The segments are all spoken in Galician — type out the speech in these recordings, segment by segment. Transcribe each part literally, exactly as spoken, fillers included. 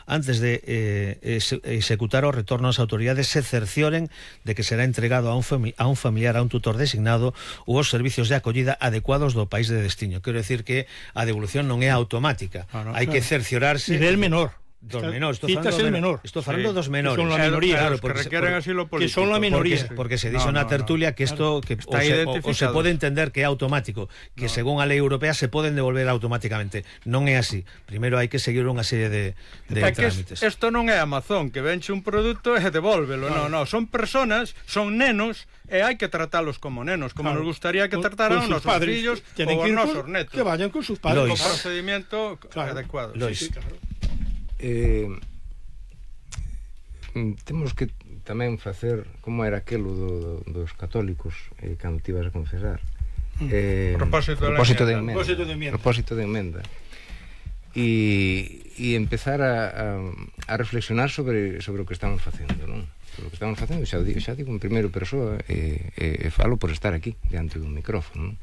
antes de eh, executar o retorno as autoridades se cercioren de que será entregado a un, a un familiar, a un tutor designado ou os servicios de acollida adecuados do país de destino. Quero decir que a devolución non é automática, ah, no, hai claro. que cerciorarse nivel menor dos menores, estou falando, do menor. Estou falando sí. dos menores. Que son la minoría, claro, porque que requieren asilo político. Que son la minoría. Porque, porque se dice no, na no, tertulia no. que isto que o se, o, o se pode entender que é automático, que no. según a lei europea se poden devolver automáticamente. Non é así. Primeiro hai que seguir unha serie de, de é trámites. Isto non é Amazon, que venche un produto e devólvelo. No, no, son personas, son nenos e hai que tratalos como nenos, como claro. nos gustaría que trataran os nosos fillos ou os nosos netos. Que vayan con sus padres. Con procedimiento claro. adecuado. Lois. Sí, sí, claro. Eh, temos que tamén facer como era aquelo do, do, dos católicos eh, cando te ibas a confesar eh, propósito, propósito de de emenda propósito de emenda, propósito de emenda. E, e empezar a, a, a reflexionar sobre, sobre o que estamos facendo, non? Sobre o que estamos facendo, xa digo, xa digo en primeiro persoa e, e, e falo por estar aquí diante dun micrófono, non?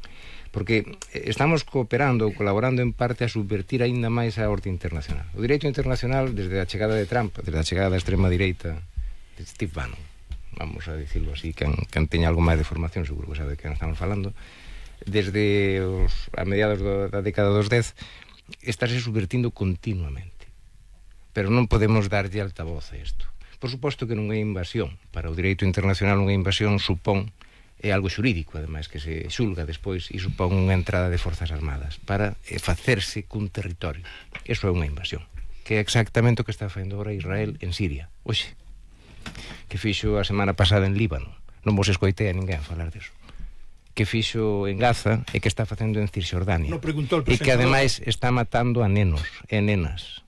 Porque estamos cooperando ou colaborando en parte a subvertir aínda máis a orde internacional. O direito internacional, desde a chegada de Trump, desde a chegada da extrema direita de Steve Bannon, vamos a dicirlo así, quen, quen teña algo máis de formación seguro que sabe de quen estamos falando, desde os, a mediados do, da década dos dez, estáse subvertindo continuamente. Pero non podemos darlle altavoz a isto. Por suposto que non é invasión. Para o direito internacional unha invasión supón é algo xurídico, ademais, que se xulga despois e supón unha entrada de forzas armadas para facerse cun territorio. Eso é unha invasión, que é exactamente o que está facendo agora Israel en Siria, oxe, que fixo a semana pasada en Líbano. Non vos escoitei a ninguén falar disso. Que fixo en Gaza e que está facendo en Cisjordania. No preguntou e el que ademais está matando a nenos e nenas.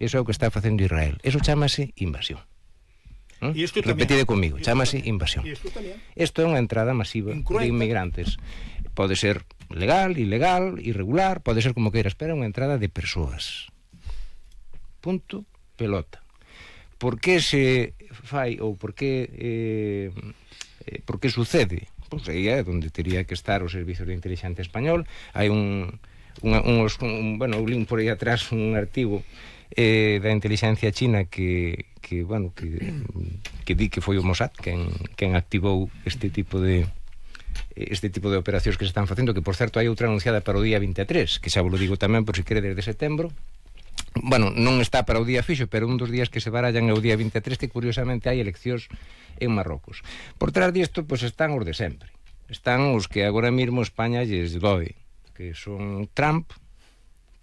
Eso é o que está facendo Israel. Eso chámase invasión. ¿Mm? Repetide comigo, chámase invasión. Isto é unha entrada masiva de inmigrantes. Pode ser legal, ilegal, irregular, pode ser como queiras, pero é unha entrada de persoas. Punto, pelota. Por que se fai ou por que eh, eh, por que sucede? Pois aí é onde teria que estar o Servicio de Inteligencia Español. Hai un, un, un, un bueno, un link por aí atrás, un artigo eh, da inteligencia china que, que bueno, que, que di que foi o Mossad quen, quen activou este tipo de este tipo de operacións que se están facendo, que por certo hai outra anunciada para o día vinte e tres, que xa vos lo digo tamén por si quere desde setembro. Bueno, non está para o día fixo, pero un dos días que se barallan é o día vinte e tres, que curiosamente hai eleccións en Marrocos. Por trás disto, pois están os de sempre. Están os que agora mesmo España lles doe, que son Trump,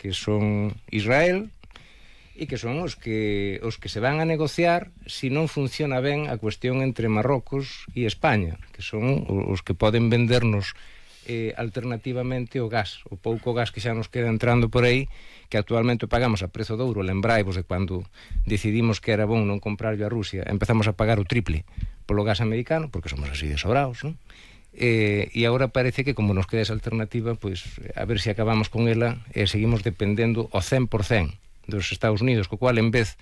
que son Israel, e que son os que os que se van a negociar se non funciona ben a cuestión entre Marrocos e España, que son os que poden vendernos eh, alternativamente o gas, o pouco gas que xa nos queda entrando por aí, que actualmente pagamos a prezo de ouro. Lembraivos de cando decidimos que era bon non comprarlo a Rusia, empezamos a pagar o triple polo gas americano, porque somos así de sobraos, non? Eh, e agora parece que como nos queda esa alternativa, pois a ver se acabamos con ela e eh, seguimos dependendo ao cen por cen dos Estados Unidos, co cual en vez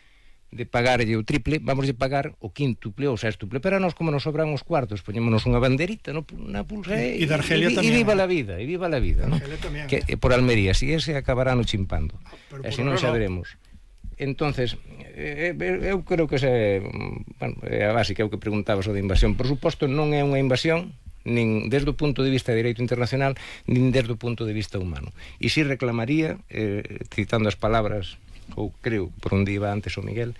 de pagarlle o triple, vamos a pagar o quíntuple ou sextuple. Pero a nos, como nos sobran os cuartos, poñémonos unha banderita no, na pulsa e, e, de Argelia e, tamén, e viva la vida, e viva la vida, ¿no? Que eh, por Almería, si ese acabará no chimpando, ah, e se non xa veremos. Entonces, eh, eu creo que ese, bueno, é a básica, é o que preguntabas o de invasión. Por suposto, non é unha invasión nin desde o punto de vista de dereito internacional, nin desde o punto de vista humano. E si reclamaría, eh, citando as palabras, ou creo, por onde iba antes o Miguel,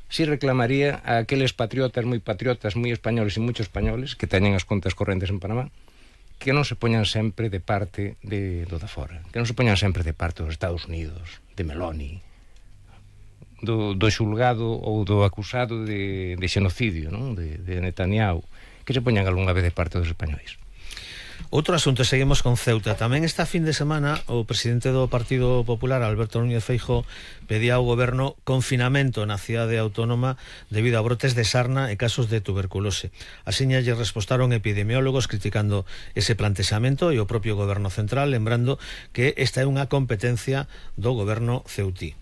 si reclamaría a aqueles patriotas, moi patriotas, moi españoles e moitos españoles que teñen as contas correntes en Panamá, que non se poñan sempre de parte de, do da fora, que non se poñan sempre de parte dos Estados Unidos, de Meloni, do, do xulgado ou do acusado de, de xenocidio, non? De, de Netanyahu, que se poñan algunha vez de parte dos españois. Outro asunto, seguimos con Ceuta. Tamén esta fin de semana o presidente do Partido Popular, Alberto Núñez Feijóo, pedía ao goberno confinamento na cidade autónoma debido a brotes de sarna e casos de tuberculose. Asiña lle respostaron epidemiólogos criticando ese plantexamento e o propio goberno central, lembrando que esta é unha competencia do goberno ceutí.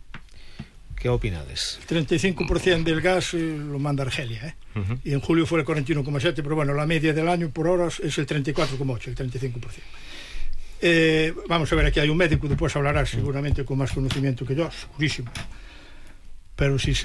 ¿Qué opinades? treinta y cinco por ciento del gas eh, lo manda Argelia, ¿eh? Uh-huh. Y en julio fue el cuarenta y uno coma siete, pero bueno, la media del año por horas es el treinta y cuatro coma ocho, el treinta y cinco por ciento. Eh, vamos a ver, aquí hay un médico, después hablará seguramente con más conocimiento que yo, segurísimo. Pero si se